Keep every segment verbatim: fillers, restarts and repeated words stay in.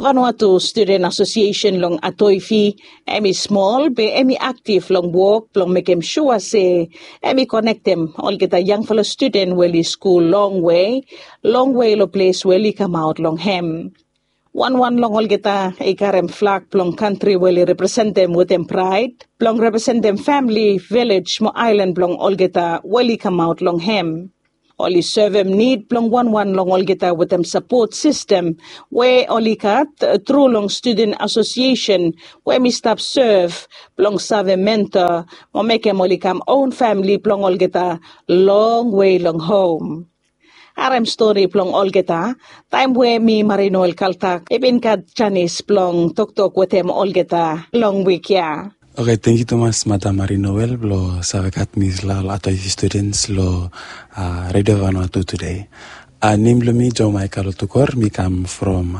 Vanuatu Studen Asosiesen long Atoifi, em i smol be em i aktiv long wok blong mekem sua se em i konektem olgeta yangfala studen we oli skul longwe, longwe long ples we oli kamaot long hem. Wanwan long olgeta i karem flag blong kantri we oli representem wetem praed blong representem famili, vilej mo aelan blong olgeta we oli kamaot long hem. Oli sevem nid blong wanwan long olgeta wetem sapot sistem we oli gat tru long Studen Asosiesen we mi stap sev blong save mentor mo mekem oli kam own famili blong olgeta longwe long hom. Harem stori blong olgeta taem we mi Marinoel Kaltak i bin gat janis blong toktok wetem olgeta long wik ya. Oke, tangkiu tumas Madam Marinoel blong save gat mi long Atoifi Students long Redio Vanuatu tude. Nem blong mi Joe Michael Otukor, mi kam from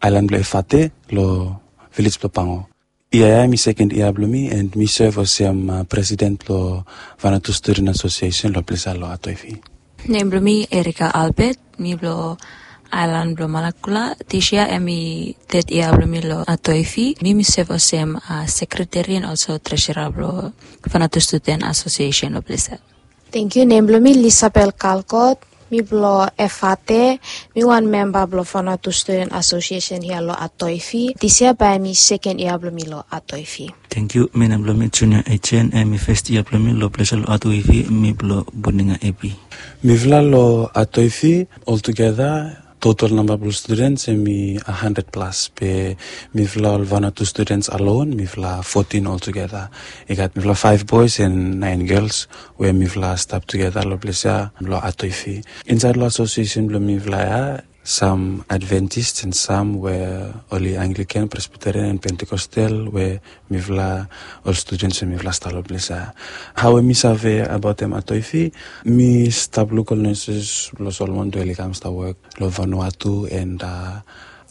aelan blong Efate long vilej blong Pango. Yia ya em i seken yia blong mi and mi sev olsem presiden blong Vanuatu Studen Asosiesen long ples ya long Atoifi. Nem blong mi Erika Albert, mi blong aelan blong Malakula. Dis yia em i ted yia blong mi long Atoifi. Mi mi sev olsem sekreteri and olso tresera blong Vanuatu Studen Asosiesen long ples ya. Tangkiu. Nem blong mi Lisabel Kalkot, mi blong Efate. Mi wan memba blong Vanuatu Studen Asosiesen hia long Atoifi. Dis yia bae em i seken yia blong mi long Atoifi. Tangkiu. Mi nem blong mi Junia Ejen, em i fes yia blong mi long ples ya long Atoifi. Mi blong Buninga Epi. Mifala long Atoifi oltugeta total namba blong studens em i handred plas, be mifala ol Vanuatu studens alon mifala fotin oltugeta. I gat mifala faef boes and naen gels we mifala stap tugeta long ples ya long Atoifi. Insaed long asosiesen blong mifala ya, sam Adventist and sam we oli Anglikan, Presbiterian and Pentekostal we mifala ol studens we mifala stap long ples ya. Hao we mi save abaotem Atoifi, mi stap luk ol neses blong Solomon we oli kam stap wok long Vanuatu and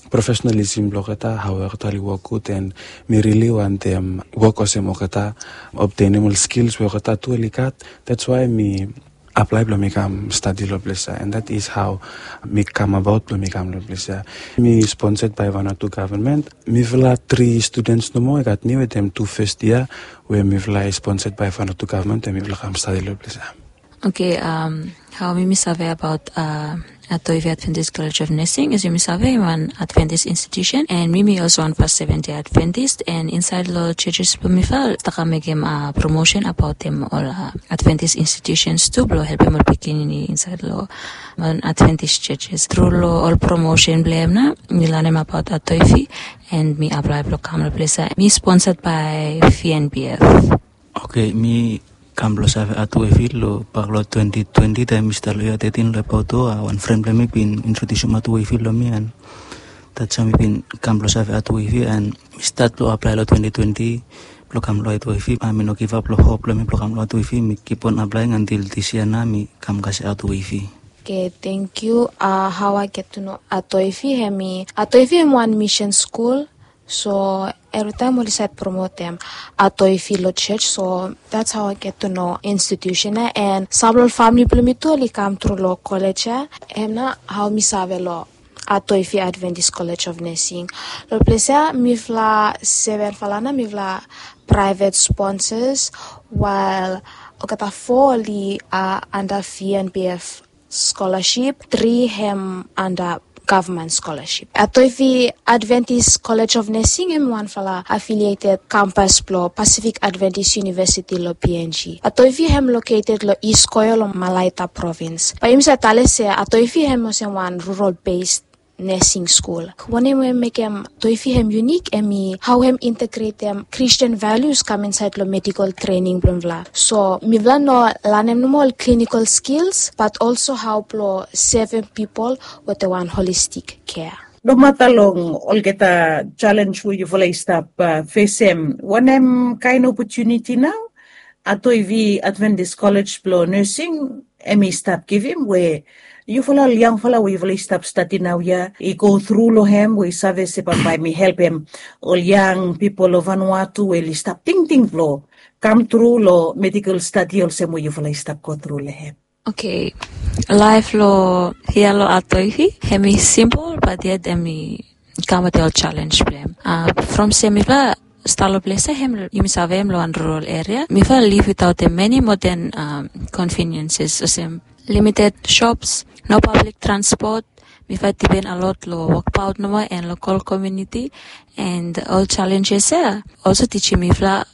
profesionalism blong olgeta, hao olgeta oli wok gud, and mi rili wantem wok olsem olgeta, obtenem ol skils we olgeta tu oli gat. That's why mi aplae blong mi kam stadi long ples ya, and that is hao mi kam abaot blong mi kam long ples ya. Mi sponset bae Vanuatu gavman. Mifala tri studens nomo i gat, mi wetem tu fes yia we mifala i sponset bae Vanuatu gavman we mifala kam stadi long ples ya. Oke, hao mi mi save abaot Atoifi Adventist College of Nursing, as yumi save, em i wan Adventist institusen, and mi mi olso wan fas Seventh Day Adventist, and insaed long jejes blong mifala, mifala stap kam mekem promosen abaotem ol Adventist institusens tu blong helpem ol pikinini insaed long ol Adventist jejes. Tru long ol promosen blong hem nao mi lanem abaot Atoifi, and mi aplae blong kam long ples ya. Mi sponset bae V N B F. Oke, mi kam blong save Atoifi long bak long twenti twenti, taem mi stap long yia tetin long Epauto. Wan fren blong mi bin introdiusim Atoifi long mi, and that's hao mi bin kam blong save Atoifi, and mi stat blong aplae long twenti twenti blong kam long Atoifi. Mi no givap long hop blong mi blong kam long Atoifi. Mi kipon aplaeing antil dis yia nao mi kam kasem Atoifi. Oke, tangkiu. Hao I get to know Atoifi, hem i, Atoifi hem i wan misen skul. So evritaem oli save promotem Atoifi long jos. So that's how I get to know institusen ya. And sam blong ol famili blong mi tu oli kam tru long kolej ya. Hem nao hao mi save long Atoifi Adventist College of Nursing. Long ples ya mifala sevenfala nao mifala praevet sponsas, wael olgeta fo oli anda V N B F scholarship, tri hem anda gavman scholarship. Atoifi Adventist College of Nursing hem wanfala affiliated kampas blong Pacific Adventist University long P N G. Atoifi hem located long East Koyo long Malaita Province. Bae yumi save talem se Atoifi hem olsem wan rural based nursing school. Wanem we mekem Atoifi hem unique hem i hao hem integretem Christian values kam insaed long medical training blong mifala. So mifala no lanem nomo ol clinical skills, but also hao blong sevem pipol wetem wan holistic care. Nomata long olgeta jalenj we yufala i stap fesem, wanem kaen opotuniti nao Atoifi Adventist College blong Nursing hem i stap givim we yufala ol yangfala we yufala i stap stadi naoia i go tru long hem, we i save se bambae hem i helpem ol yang pipol long Vanuatu we oli stap tingting blong kam tru long medical stadi olsem we yufala i stap go tru long hem? Oke, laef long hia long Atoifi hem i simpol, bat yet hem i kam wetem ol challenge blong hem. From se mifala stap long ples ya, hem yumi save hem long wan rural area. Mifala liv without the many modern conveniences, olsem limited shops, no public transport. Mifala dipen a lot long wokbaot nomo and lokal community, and ol challenges ya also tijim mifala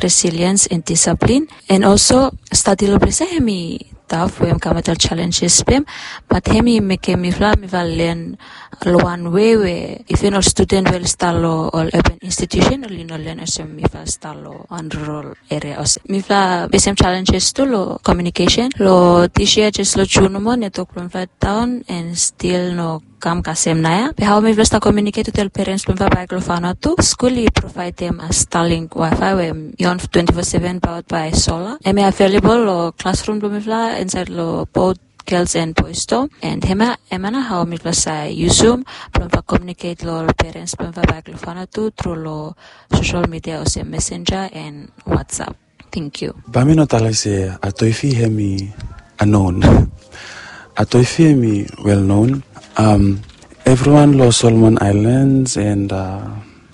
resilience and discipline. And also stadi long ples ya, hem i taf we hem kam wetem ol challenges blong hem, bat hem i mekem mifala mifala len long wan wei we even ol studen we oli stap long ol urban institution oli no len olsem mifala stap long wan rural area. Olsem mifala fesem challenges tu long communication. Long this year jes long June nomo network blong mifala daon and stil no kam kasem naoia. Be hao mifala stap communicate wetem ol parents blong mifala baek long Vanuatu, skul i provaedem Starlink wifi we i on twenty-four seven powered by solar. Hem i available long classroom blong mifala insaed long both girls and boys dorm. And hemia hemia nao hao mifala save yusum blong mifala communicate long ol parents blong mifala baek long Vanuatu tru long social media olsem Messenger and WhatsApp. Thank you. Bae mi no talem se Atoifi hem i unknown. Atoifi hem i well known. Everyone long Solomon Islands and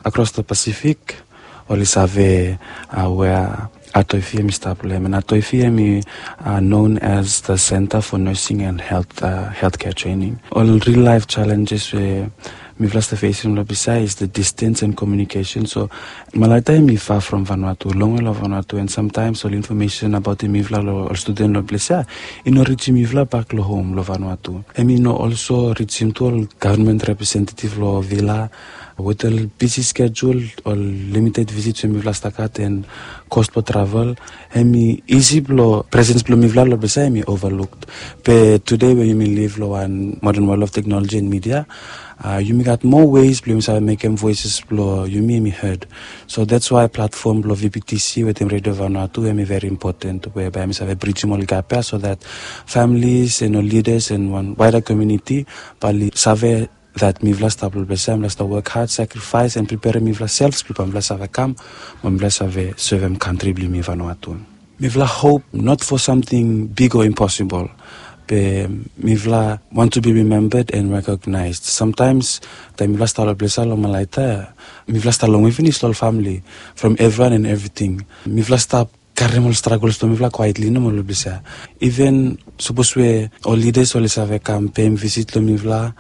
across the Pacific oli save wea Atoifi hem i stap long hem. And Atoifi hem i known as the center for nursing and health healthcare training. Ol real life challenges we mifala stap fesem long ples ya is the distance and communication. So Malaita hem i far from Vanuatu, longwe long Vanuatu, and sometimes ol information abaotem mifala long ol studen long ples ya i no rijim mifala baek long hom long Vanuatu. Hem i no also rijim tu ol government representative long villa. Wetem ol busy schedule, ol limited visits we mifala stap gat and cost blong travel, hem i isi blong presence blong mifala long ples ya hem i overlooked. Be today we yumi live long wan modern world of technology and media, yumi gat more ways blong yumi save mekem voices blong yumi hem i heard. So that's why platform blong VPTC wetem Radio Vanuatu hem i very important, we bae hem i save bridgim ol gap ya so that families and ol leaders and wan wider community bae oli save that mifala stap long ples ya, mifala stap work hard, sacrifice and preparem mifala selves blong bae mifala save kam mo mifala save sevem kantri blong yumi Vanuatu. Mifala hope not for something big or impossible, be mifala want to be remembered and recognized. Sometimes taem mifala stap long ples ya long Malaita, mifala stap longwe finis long ol famili from everyone and everything. Mifala stap karem ol struggles blong mifala quietly nomo long ples ya. Even sapos we ol leaders oli save kam peim visit long mifala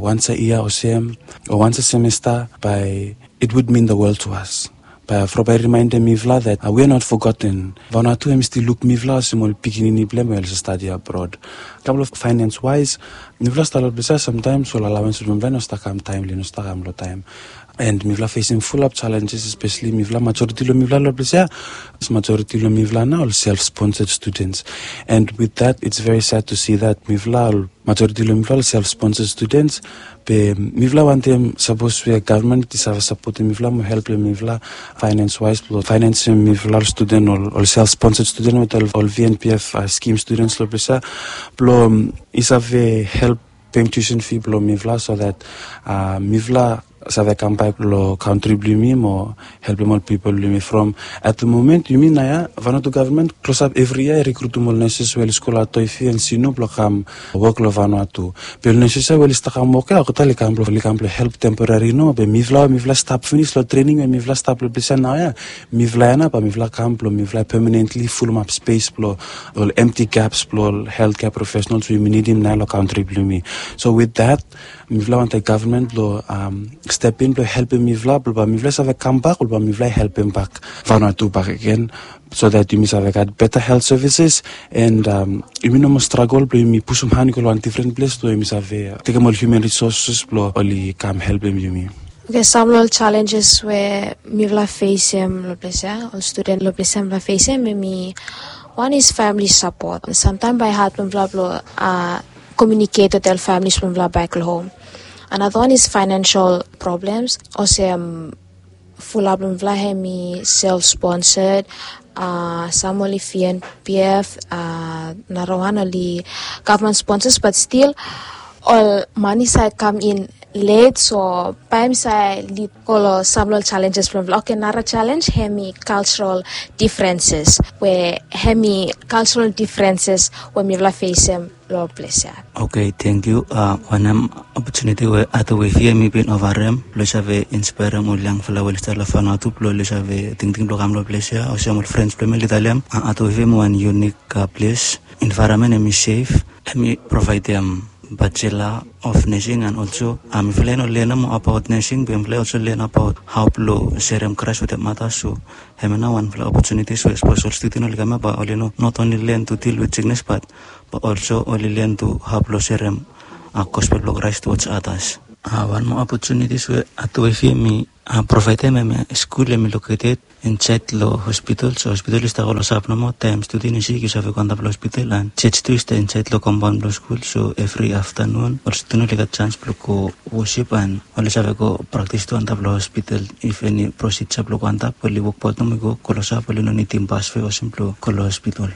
once a year olsem o once a semester, bae it would mean the world to us. Bae from bae i remindem mifala that we are not forgotten. Vanuatu hem i stil luk mifala olsem ol pikinini blong hem we oli stap stadi abroad. Couple of finance wise, mifala stap long ples ya sometimes ol allowance blong mifala no stap kam timely, no stap kam long taem. And mifala fesem full up challenges, especially mifala majority long mifala long ples ya, majority long mifala nao ol self sponsored students. And with that it's very sad to see that mifala ol majority long mifala ol self sponsored students. Be mifala wantem sapos we government i save sapotem mifala mo helpem mifala finance wise blong financem mifala ol student, ol self sponsored student wetem ol VNPF scheme students long ples ya, blong i save help peim tuition fee blong mifala so that mifala save kam baek long kantri blong yumi mo helpem ol pipol blong yumi. From at the moment yumi naoia Vanuatu government klosap evri yia i rekrutum ol nurses we oli skul Atoifi and Sinu blong kam wok long Vanuatu. Be ol nurses ya we oli stap kam wok ya olgeta oli kam blong help temporary nomo, be mifala we mifala stap finis long trening we mifala stap long ples ya naoia, mifala ya nao bae mifala kam blong mifala permanently fulumap space blong ol empty gaps blong ol healthcare professionals we yumi nidim naoia long kantri blong yumi. So with that mifala wantem government blong step in blong helpem mifala blong bae mifala save kam bak, blong bae mifala helpem bak Vanuatu bakegen, so that yumi save gat better health services and yumi no moa struggle blong yumi pusum han i go long wan different ples blong yumi save tekem ol human resources blong oli kam helpem yumi. Okay, sam long ol challenges we mifala fesem long ples ya, ol studen long ples ya mifala fesem, hemi one is family support. Samtaem bae i had blong mifala blong communicate wetem ol families blong mifala back home. Another one is financial problems. Olsem fulap blong mifala hemi self sponsored, uh, sam oli VNPF, uh, narawan oli government sponsors, but still ol mane save kam in let, so bae mi save lid go long sam long ol challenges blong mifala. Oke, nara challenge hemi cultural differences, we hemi cultural differences we mifala fesem long ples ya. Oke, tangkiu. Wanem opportunity we Art Wave hemi bin ofarem blong save inspirem ol yangfala we oli stap long Vanuatu blong oli save tingting blong kam long ples ya, olsem ol friends blong mi oli talem, Art Wave hemi wan unique ples. Environment hemi safe, hemi provaedem Bachelor of Nursing, and also mifala i no lenem abaot nursing, be mifala i also len abaot hao blong serem Kraes wetem atas. So hemia nao wanfala opportunities we sapos ol studen oli kam ya bae oli no not only learn to deal with sickness, but bae also oli learn to hao blong serem gospel blong Kraes towards others. Wan moa opportunities we Art Wave hemi provaedem, hemia skul hemi located insaed long hospital. So hospital i stap klosap nomo. Taem studen i sik yu save go antap long hospital, and church tu i stap insaed long compound blong skul. So evri aftanun ol studen oli gat chance blong go worship, and oli save go praktis tu antap long hospital. If eni procedure blong go antap oli wokbaot nomo, i go klosap, oli no nidim bas we olsem blong go long hospital.